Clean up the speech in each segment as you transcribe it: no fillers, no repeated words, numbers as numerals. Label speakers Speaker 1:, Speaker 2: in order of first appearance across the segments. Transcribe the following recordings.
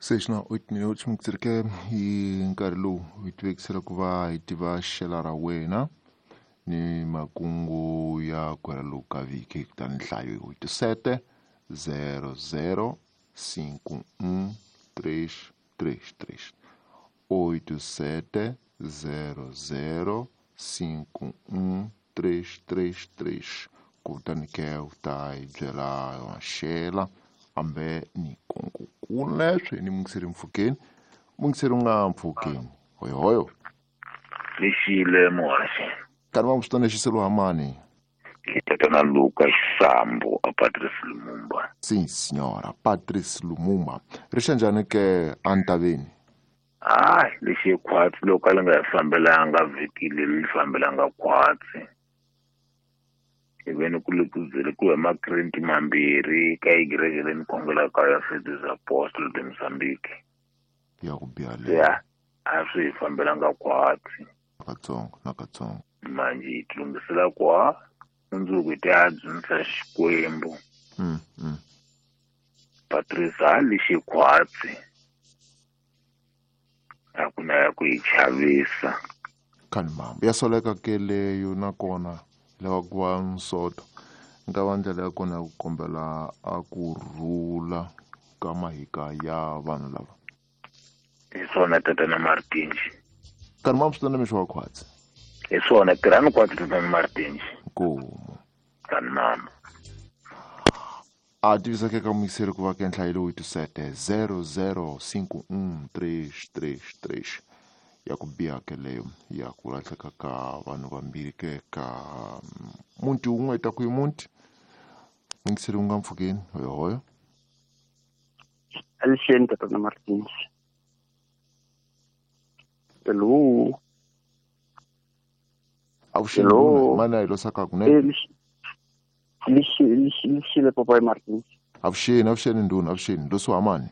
Speaker 1: Seis na 8 minutos mukutsereke hi nkarhi lowu hi tivekisela ku va hi tiva xela ra wena ni makungu ya ku hela lowu ka vhiki. Kutani nhlayo hi 87 00 5 1 3 3 3 87 00 5 1 3 3 3. Kutani ke u ta hi byela maxela ambe ni kungu kuleswe ni mungiseri mpfhukeni, mungiseri u nga mpfhukeni hoyohoyo.
Speaker 2: Lexile muhaxi.
Speaker 1: Kani va swi tona xiselo hamani.
Speaker 2: Hi tatana Luka Xisambu a Patrice Lumumba.
Speaker 1: Sim signora, Patrice Lumumba. Ri xa njhani ke antaveni?
Speaker 2: Hayi, lexi khwatsi loko a li nga hi fambelanga vhiki leri li fambelanga khwatsi. Hi veni ku le ku byele ku huma makrenti mambirhi ka igirege leyi ni khongelaka ya Faith Apostle de Mozambique.
Speaker 1: Ya ku biha leyo.
Speaker 2: Ya, a swi hi fambelanga khwatsi.
Speaker 1: Nakatsongo, nakatsongo.
Speaker 2: Manje hi tilunghisela kwa mundzuku hi ta dzunisa Xikwembu. Patrice a lexi khwatsi. A ku na ya ku hi chavisa.
Speaker 1: Kani mama, ya soleka ke leyo nakona lava ku va nsoto. Nga va ndlela ya kona ya ku kombela a ku rhula ka mahika ya vanhu lava.
Speaker 2: Hi swona tatana Martinji.
Speaker 1: Kani mama swi tona mixo wa khwatsi.
Speaker 2: Hi swona tirhani khwatsi tatana Martinji.
Speaker 1: Nkomu.
Speaker 2: Kani mama.
Speaker 1: A tivisa ke ka muyiseri ku va ke nhlayo lowu 87 00 5 1 3 3 3 ya ku biha ke leyo ya ku lahleka ka vanhu vambirhi ke ka muti wun'we ta ku hi muti. Muyingiseri u nga mpfhukeni hoyohoyo.
Speaker 3: Alixeni tatana Martins. Hello.
Speaker 1: Avuxeni.
Speaker 3: Hello.
Speaker 1: Mana hi losaka kunene.
Speaker 3: Lexile Papai Martins.
Speaker 1: Avuxeni, avuxeni ndhuna, avuxeni. Losi wa mani?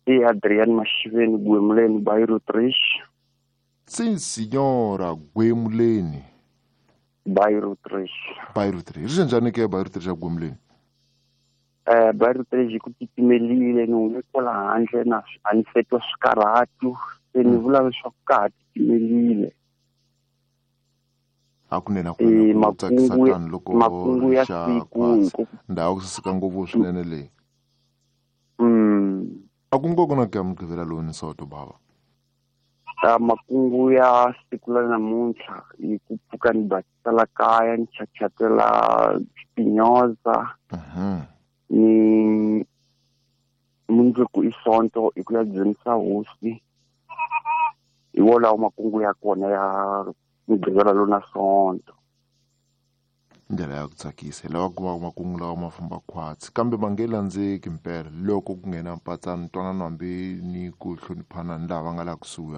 Speaker 3: I Adrian Mashiveni Gwemuleni Bairro 3.
Speaker 1: Sim signora, Gwemuleni.
Speaker 3: Bairro 3.
Speaker 1: Bairro 3. Ri njhani ke Bairro 3 ya Gwemuleni?
Speaker 3: Bairro 3 ku titimelile ni hume kwala handle na a ni fetwa swikarhatu se ni vula leswaku ka ha titimelile.
Speaker 1: Hakunene, hakunene, ku tsakisa tani loko
Speaker 3: makungu ya
Speaker 1: rixa
Speaker 3: siku
Speaker 1: khwatsi.
Speaker 3: hi ku
Speaker 1: Ndhawu ku saseka ngopfu swinene leyi. A ku ngo ku na ke Mugqivela lowu ni soto bava.
Speaker 3: Ta makungu ya siku la namuntlha hi ku pfuka ni basisa la kaya ni chachatela spinyoza. Ni mundzuku i Sonto hi ku ya dzunisa hosi. Hi wolawo makungu ya kona ya Mugqivela lowu na Sonto.
Speaker 1: Ndlela ya ku tsakisa hi lava ku va makungu lawa ma famba khwatsi kambe ma nge landzeki mpela loko ku nghena mpatsano ntwanano hambi ni ku hloniphana ni lava nga la kusuhi.